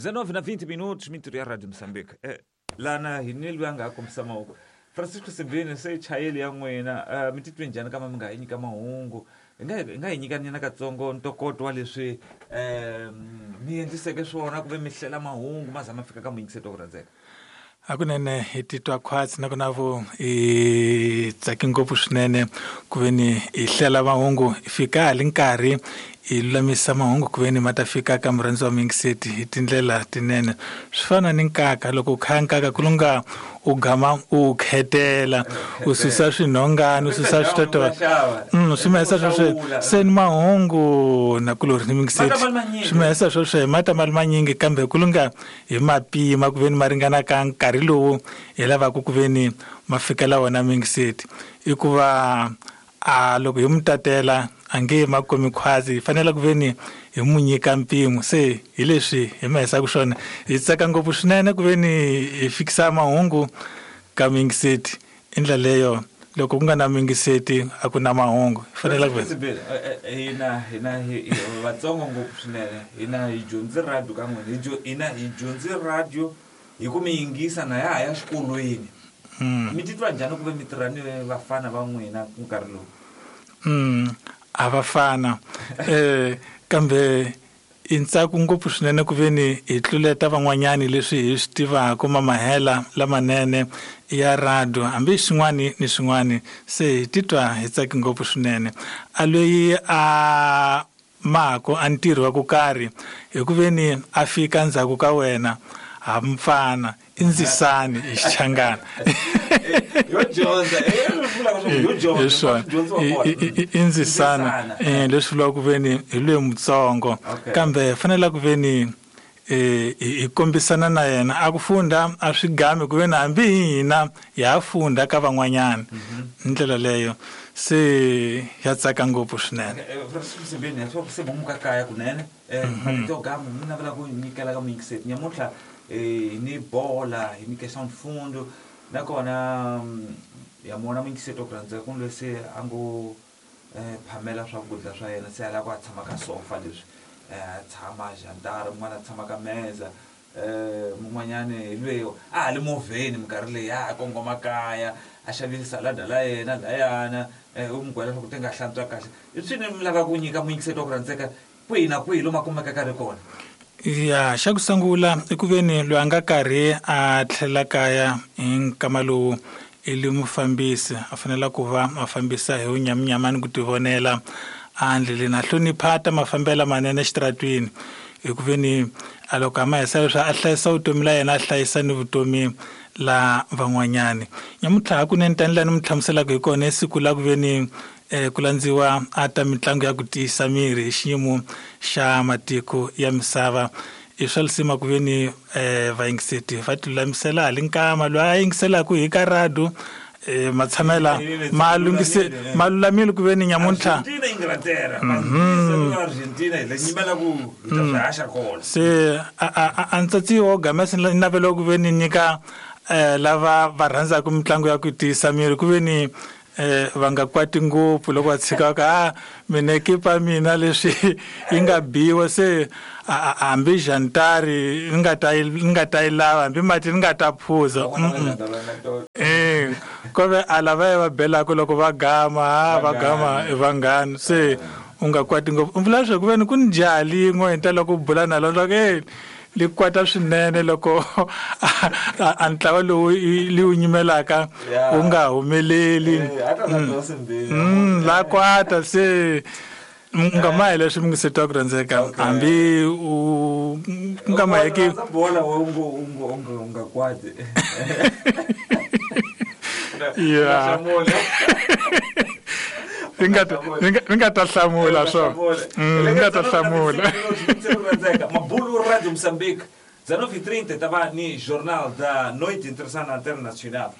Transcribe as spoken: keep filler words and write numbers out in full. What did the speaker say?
dezenove na vinte minutos, mintirho ya Radio Moçambique. Eh, lana hi ni loyi a nga ha kombisa mavoko. Francisco Simbine, se chayeli ya n'wina, uh, mi titwe njhani kama mi nga hi nyika mahungu? Hi nga hi nga hi nyika nyana katsongo ntokoto wa leswi um mi endliseke swona ku ve mi hlela mahungu ma za ma fika ka muyingiseti wa ku rhandzeka. Hakunene hi titwa khwatsi nakona vo hi tsake ngopfu swinene ku ve ni hi hlela mahungu hi fika hali nkarhi hi lulamisa mahungu ku ve ni ma ta fika ka murhandzi wa muyingiseti hi tindlela tinene. Swi fana ni nkaka, loko u khaya nkaka ku lunga u gama u khetela u susa swinhongani u susa switotowa mm swi mahisa sweswo se ni mahungu na kulori ni muyingiseti swi mahisa sweswo hi mata mali manyingi kambe ku lunga hi mapima ku ve ni ma ringana ka nkarhi lowu hi lavaka ku ve ni ma fikela wona muyingiseti. I ku va a loko hi mu tatela a nge ma komi khwazi, hi fanele ku ve ni hi mu nyika mpimo. Se hi leswi hi ma hisaka swona, hi tsaka ngopfu swinene ku ve ni hi fikisa mahungu ka muyingiseti. I ndlela leyo loko ku nga na muyingiseti a ku na mahungu, hi fanele ku ve hina hina hi vatsongo ngopfu swinene, hina hi dyondzi radio ka n'wina, hina hi dyondzi radio hi ku mi yingisa na ya ha ya xikolweni. Mi titwa njhani ku ve mi tirha ni vafana va n'wina ku nkarhi lowu? Mm a va fana eh kambe i ntsako ngopfu swinene ku ve ni hi tluleta van'wanyani leswi hi swi tivaka mamahela lamanene ya radio hambi swin'wani ni swin'wani. Se hi titwa hi tsake ngopfu swinene. A loyi a mako a ntirho wa ku karhi hi ku ve ni a fika ndzhaku ka wena ha mfana i ndzisani hi xichangana. Yo dyondza, yo dyondza, i ndzisana leswi vulaka ku ve ni hi loyi mutsongo, kambe fanele ku ve ni hi kombisana na yena a ku funda a swi gami ku ve ni hambi hina ya funda ka van'wanyana hi ndlela leyo. Se ya tsaka ngopfu swinene. Se muka kaya kunene marito yo gama mi navela ku nyikela ka muyingiseti nyamuntlha hi ni bola hi ni questão de fundo nakona ya mona muyingiseti wa ku rhandzeka ku loyi se a ngo phamela swakudya swa yena se a lava ku a tshama ka sofa leswi a tshama jantara mun'wana a tshama ka meza mun'wanyani hi loyi a ha le movheni minkarhi leyi a kongoma kaya a xavile salada la yena layana u mi gwela leswaku ti nga hlantswa kahle. I swini mi lava ku nyika muyingiseti wa ku rhandzeka kwihi na kwihi lomu a kumekaka ri kona? Ya xa ku sungula i ku ve ni loyi a nga karhi a tlhela kaya hi nkama lowu i le mufambisi a fanele ku va a fambisa hi vunyaminyamani ku tivonela a ndleleni a hlonipha ta mafambelo manene exitaratwini hi ku ve ni a loko a ma hisa leswi a hlayisa vutomi la yena a hlayisa ni vutomi la van'wanyani. Nyamuntlha hakunene tanihi laha ni mi hlamuselaka hi kona i siku la ku ve ni eh ku landziwa a ta mitlangu ya ku tiyisa miri hi xiyimo xa matiko ya misava. I swa lisima ku ve ni eh vayingiseti va tilulamisela hali nkama loyi a yingiselaka hi ka radio eh matshamela ma lunghise ma lulamile ku ve ni nyamuntlha se a ntsatsi wo gamesa ni navela ku ve ni nyika eh lava va rhandzaka mitlangu ya ku tiyisa miri ku ve ni eh va nga kwati ngopfu loko va tshika ka a mina ekipa mina leswi yi nga biwa se hambi jantari ni nga ta ni nga ta yi lava hambi mati ni nga ta phuza eh ko ve a lava va belaka loko va gama ha va gama i vanghani se u nga kwati ngopfu. U vula leswaku ku ve ni ku ni jaha lin'we hi ta loko u bula na lona e li kwata swinene loko a ntlawa lowu li wu nyimelaka wu nga humeleli la kwata se nga ma hi leswi muyingiseti wa ku rhandzeka hambi u nga ma heki bola u nga kwati. Ya ni nga ta hlamula swona ni nga ta hlamula. Mabulu Radio Moçambique, dezenove e trinta, tava ni Jornal da Noite Internacional.